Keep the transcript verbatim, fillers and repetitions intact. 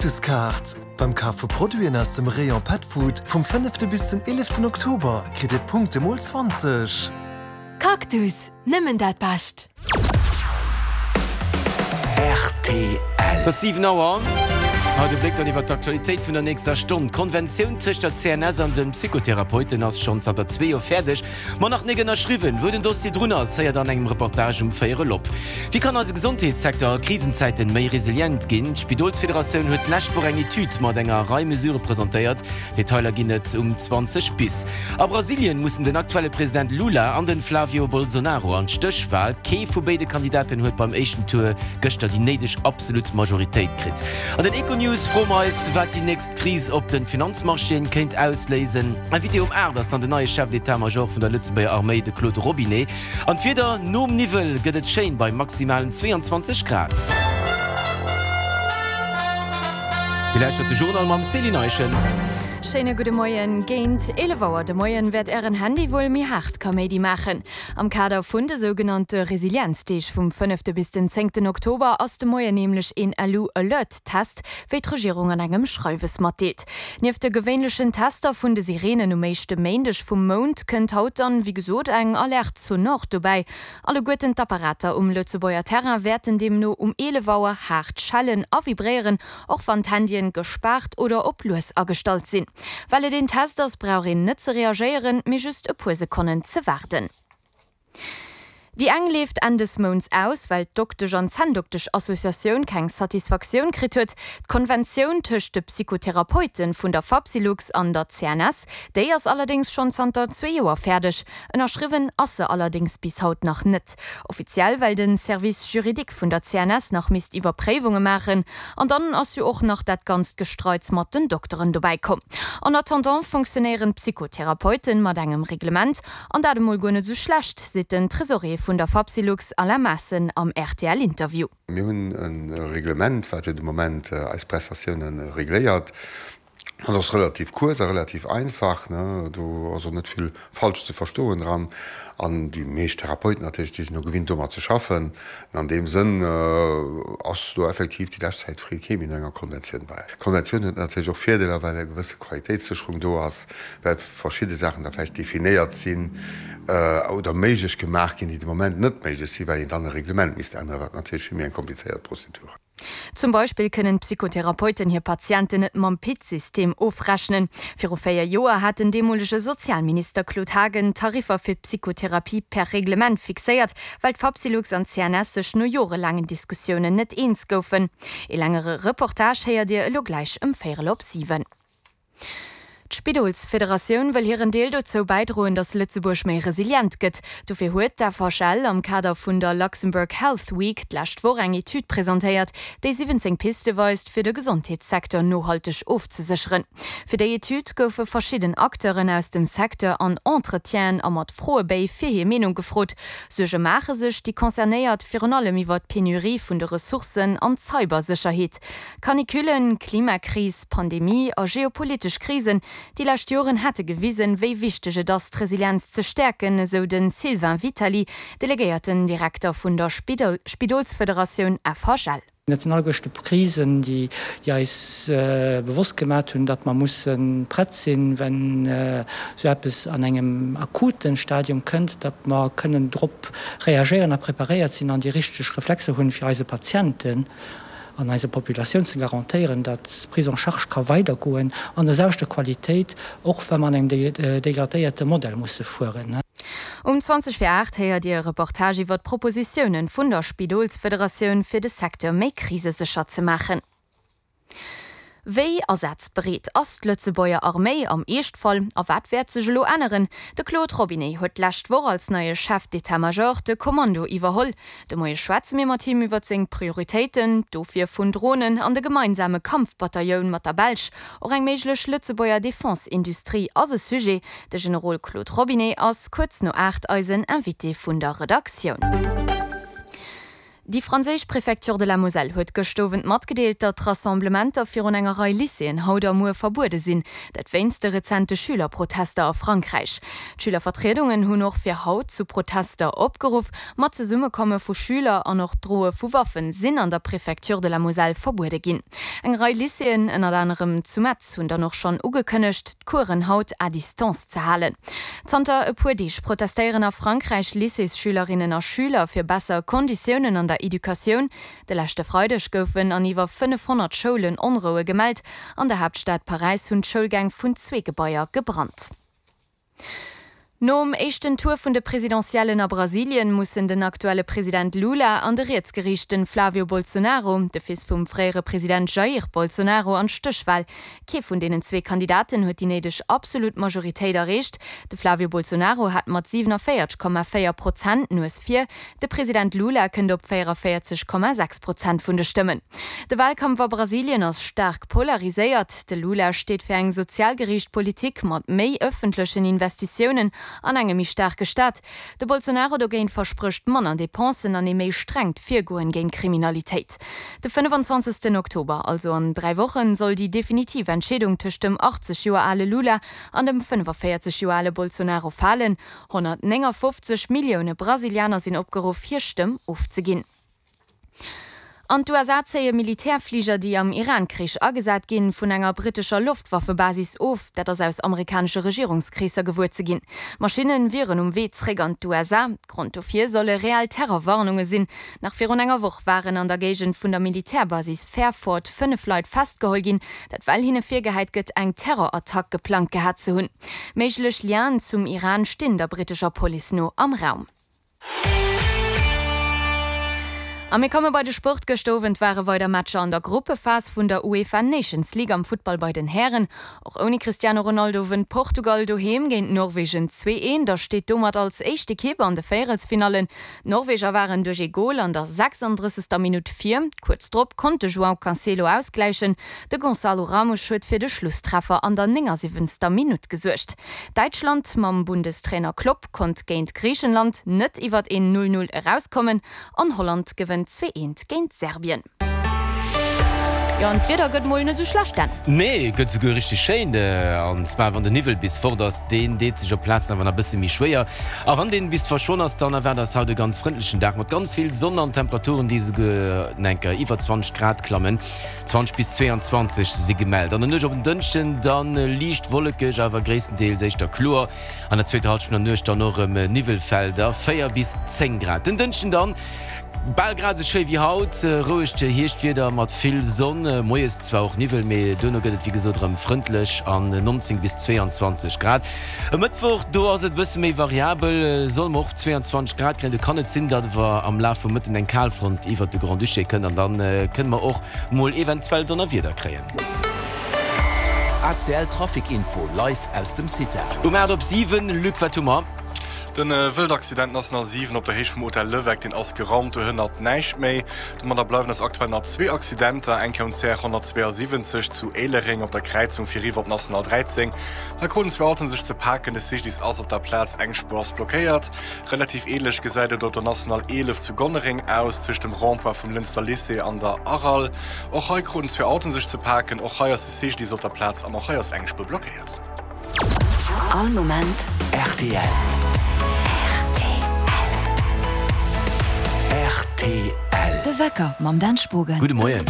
Cactus-Kaart! Beim Kaf vu Produiten aus dem Rayon Pet Food vum fënnefte bis den eeleften Oktober kritt Dir d'Punkte mol zwanzeg. Cactus, nëmmen dat Bescht! Rtl. Et ass siwen Auer. Haut e Bléck dann iwwer d'Aktualitéit vun der nächster Stonn. D'Konventioun tëscht der C N S an de Psychotherapeuten ass schonn zanter zwee Joer fäerdeg, ma nach nik ënnerschriwwen. Wou den Dossier drun ass, héiert an engem Reportage um Véierel op. Wéi kann eise Gesondheetssecteur a Krisenzäiten méi resilient ginn? D'Spidolsfederatioun huet d'lescht Woch eng Etüd mat enger Rei Mesurë presentéiert. Detailer ginn et um zwanzeg bis. A Brasilien mussen den aktuelle President Lula an den Flavio Bolsonaro an d'Stéchwal. Kee vu béide Kandidaten huet beim éischten Tour gëschter déi néideg absolut Majoritéit kritt. An den Econews froe mer eis, wat déi nächst Kris op de Finanzmarchéen kéint ausléisen. Invité um aacht ass dann den neie Chef d'état-major vun der Lëtzebuerger Arméi, de Claude Robinet. An d'Wieder, Nom Niwwel gëtt et schéin bei maximalen zweeanzwanzeg Grad. Dir lauschtert de Journal mam Céline Eischen. Schéine gudde Moien. Géint eelef Auer de Moien wäert Ären Handy wuel méi haart Kaméidi maachen. Am Kader vun de sougenannte Resilienzdeeg vum fënnefte bis den zéngten Oktober ass de Moien nämlech een Lu-Alert-Test, wéi d'Regierung an engem Schreiwes matdeelt. Nieft de gewéinlechen Tester vun de Sireenen um éischte Méindeg vum Mount kënnt haut dann, wéi gesot, eng Alerte sonore dobäi. Alleguerten d'Apparater um Lëtzebuerger Terrain wäerten deemno um eelef Auer haart schellen a vibréieren, och wann d'Handyen gespaart oder op lues agestallt sinn. Well et een Test ass, brauch een net ze reagéieren, mee just e puer Sekonnen ze waarden. Déi eng leeft Enn des Mounts aus, well d'Doktesch an Zänndoktesch-Associatioun keng Satisfaktioun kritt huet. D'Konventioun tëscht de Psychotherapeute vun der Fapsylux an der C N S, déi ass allerdéngs schonn zanter zwee Joer fäerdeg. Ënnerschriwwen ass se allerdéngs bis haut nach net. Offiziell well de Service juridique vun der C N S nach misst Iwwerpréiwunge maachen. An dann ass jo och nach dat ganzt Gestreits mat den Dokteren dobäi komm. En attendant funktionéieren d'Psychotherapeute mat engem Reglement, an dat emol guer net sou schlecht, seet den Tresorier vun der Fapsylux Alain Maassen am R T L-Interview. Mir hunn e Reglement, wat jo de Moment eis Prestatioune regléiert. Dat ass relativ kuerz a relativ einfach, do ass och net vill falsch ze verstoen dran. An déi meescht Therapeuten natierlech, déi sinn jo gewinnt domat ze schaffen. An an deem Sënn ass do effektiv déi lescht Zäit freet kee méi no enger Konventioun bei. D'Konventioun huet natierlech och Virdeeler, well eng gewësse Qualitéitssécherung do ass, well verschidde Saachen da vläicht definéiert sinn oder méiglech gemaach ginn, déi de Moment net méiglech sinn, well een dann e Reglement misst änneren, wat natierlech vill méi eng komplizéiert Prozedur ass. Zum Beispill kënnen d'Psychotherapeuten hir Patienten net mam PIT-System ofrechnen. Viru véier Joer hat den deemolege Sozialminister Claude Haagen d'Tariffer fir d'Psychotherapie per Reglement fixéiert, well d'Fapsylux an d'C N S sech no jorelaangen Diskussiounen net eens goufen. Ee längere Reportage héiert Dir elo gläich ëm véierel op siwen. D'Spidolsfederatioun wëll hiren Deel dozou bäidroen, datt Lëtzebuerg méi resilient gëtt. Dofir huet d'F H L am Kader vun der Luxembourg Health Week d'lescht Woch eng Etüd presentéiert, déi siwwenzéng Piste weist, fir de Gesondheetssecteur nohalteg ofzesécheren. Fir déi Etüd goufe verschidden Acteuren aus dem Secteur an Entretienen a mat Froebéi fir hir Meenung gefrot. Suerge maache sech déi Concernéiert virun allem iwwer d'Penurie vun de Ressourcen an d'Cybersécherheet. Canicullen, Klimakris, Pandemie a geopolitesch Krisen, déi lescht Joren hätte gewisen, wéi wichteg et ass, d'Resilienz ze stäerken, esou de Sylvain Vitali, delegéierten Direkter vun der Spidolsfederatioun F H L. Dat sinn alleguerten Krisen, déi eis bewosst gemaach hunn, datt mer musse prett sinn, wann esou eppes an engem akuten Stadium kënnt, datt mer kënnen drop reagéieren a preparéiert sinn an déi richteg Reflexer hunn, fir eise Patienten an eiser Populatioun ze garantéieren, datt d'Prise en charge ka weidergoen an der selwechter Qualitéit, och wa mer an engem degradéierte Modell musse fueren. Um zwanzeg vir aacht héiert Dir e Reportage iwwer d'Propositiounen vun der Spidolsfederatioun, fir de Secteur méi krisesécher ze maachen. Wéi asazbereet ass d'Lëtzebuerger Arméi am Eeschtfall a wat wäert sech elo änneren? De Claude Robinet huet d'lescht Woch als neie Chef d'état-major de Kommando iwwerholl. De Moie schwätze mir mat him iwwer seng Prioritéiten, d'Ofwier vun Dronen an de gemeinsame Kampfbatailloun mat der Belsch. Och eng méiglech Lëtzebuerger Defense-Industrie ass e Sujet. De Generol Claude Robinet ass kuerz no aacht eisen Invité vun der Redaktioun. Déi franséisch Préfecture de la Moselle huet gëscht Owend matgedeelt, datt Rassemblementer virun enger Rei Lycéeën haut a muer verbuede sinn. Dat wéinst de rezente Schülerprotester a Frankräich. D'Schülervertriedungen hunn och fir haut zu Protester opgeruff. Ma d'Zesummekomme vu Schüler an och d'Droe vu Waffen sinn an der Préfecture de la Moselle verbuede ginn. Eng Rei Lycéeën, ënnert anerem zu Metz, hunn dann och schonn ugekënnegt, d'Coursen haut à distance ze halen. Zanter e puer Deeg protestéieren a Frankräich Lycéesschülerinnen a Schüler fir besser Konditiounen an der Educatioun. De leschte Freideg goufen an iwwer fënnefhonnert Schoulen Onroue gemellt. An der Haaptstad Paräis hunn d'Schoulgäng vun zwee Gebaier gebrannt. Nom éischten Tour vun de Presidentiellen a Brasilien mussen den aktuelle President Lula an de rietsgeriichten Flavio Bolsonaro, de Fils vum fréiere President Jair Bolsonaro, an d'Stéchwal. Kee vun deenen zwee Kandidaten huet déi néideg absolut Majoritéit erreecht. De Flavio Bolsonaro hat mat siwenavéierteg Komma véier Prozent d'Nues vir, de President Lula kënnt op véierunvéierzeg Komma sechs Prozent vun de Stëmmen. De Walkampf a Brasilien ass staark polariséiert. De Lula steet fir eng sozial geriicht Politik mat méi ëffentlechen Investitiounen an engem méi staarke Staat. De Bolsonaro dogéint versprécht manner Depensen an ee méi strengt Virgoen géint Kriminalitéit. De fënnefenzwanzegsten Oktober, also an dräi Wochen, soll déi definitiv Entscheedung tëscht dem achtzeg Joer ale Lula an dem fënnefaféierzeg Joer ale Bolsonaro falen. honnertnéngafofzeg Millioune Brasilianer sinn opgeruff, hir Stëmm ofzeginn. An d'USA zéie Militärfliger, déi am Iran-Krich agesat ginn, vun enger brittescher Loftwaffebasis of. Dat ass aus amerikanesche Regierungskreesser gewuer ze ginn. D'Maschinne wieren um Wee zréck an d'USA. Grond dofir solle reell Terrorwarnunge sinn. Nach virun enger Woch waren an der Géigend vun der Militärbasis Fairford fënnef Leit festgeholl ginn, dat well hinne virgehäit gëtt, eng Terrorattack geplangt gehat ze hunn. Méiglech Lienen zum Iran stinn der brittescher Police no am Raum. A mir komme bei de Sport. Gëschter Owend ware weider Matcher an der Gruppephas vun der UEFA Nations League am Futtball bei den Hären. Och ouni Cristiano Ronaldo wënnt Portugal doheem géint Norwegen zwee eent a steet domat als éischt Ekipp an de Véierelsfinallen. D'Norweger waren duerch ee Gol an der sechsanddrëssegster Minutt vir. Kuerz drop konnt de João Cancelo ausgläichen. De Gonçalo Ramos huet fir de Schlusstreffer an der néngasiwwenzter Minutt gesuergt. Däitschland mam Bundestrainer Klopp konnt géint Griichenland net iwwert een Null Null erauskommen an Holland gewënnt zwee eent géint Serbien. Jo, an d'Wieder gëtt mol net sou schlecht, Dan. Nee, gëtt souguer richteg schéin. An zwar wann den Niwwel bis fort ass, deen deet sech op Plazen awer nach bësse méi schwéier. A wann deen bis verschwonn ass, dann erwaart eis haut e ganz frëndlechen Dag mat ganz vill Sonn an Temperaturen, déi souguer enker iwwer zwanzeg Grad klammen. zwanzeg bis zweeanzwanzeg si gemellt. An der Nuecht op en Dënschden dann liicht wollekeg, awer gréisstendeels éischter kloer. An der zweeter Hallschent vun der Nuecht dann och erëm Niwwelfelder, véier bis zéng Grad. Den Dënschden dann bal grad esou schéi wéi haut, rouegt Hierschtwieder mat vill Sonn, moies zwar och Niwwel, mee duerno gëtt et wéi gesot erëm frëndlech an neunzéng bis zweeanzwanzeg Grad. E Mëttwoch, do ass et e bësse méi variabel, solle mer och zweeanzwanzeg Grad kréien. Do kann et sinn, datt awer am Laf vum Mëtten eng Kalfront iwwert de Grand-Duché kënnt an da kënne mer och mol eventuell Donnerwieder kréien. A C L Trafic Info live aus dem CITA. Um aacht op siwen, Luc, wat hu mer? Den Wëldaccident National siwen op der Héicht vum Hotel Levecq, deen ass geraumt, do hënnert näischt méi. Domadder bleiwen eis aktuell nach zwee Accidenter, eng Kéier um C R honnertzweeasiwwenzeg zu Éilereng op der Kräizung fir eriwwer op National dräizéng. Hei kruten zwee Autoen sech ze paken, de C G D I S ass op der Plaz, eng Spuer ass blockéiert. Relativ änlech gesäit et op der National eelef zu Gonnereng aus, tëscht dem Rond-point vum Lënster Lycée an der Aral. Och hei kruten zwee Autoen sech ze paken, och hei ass de C G D I S op der Plaz an och hei ass eng Spuer blockéiert. All Moment R T L. R T L. De Wecker mam Dan Spogen. Gudde Moien.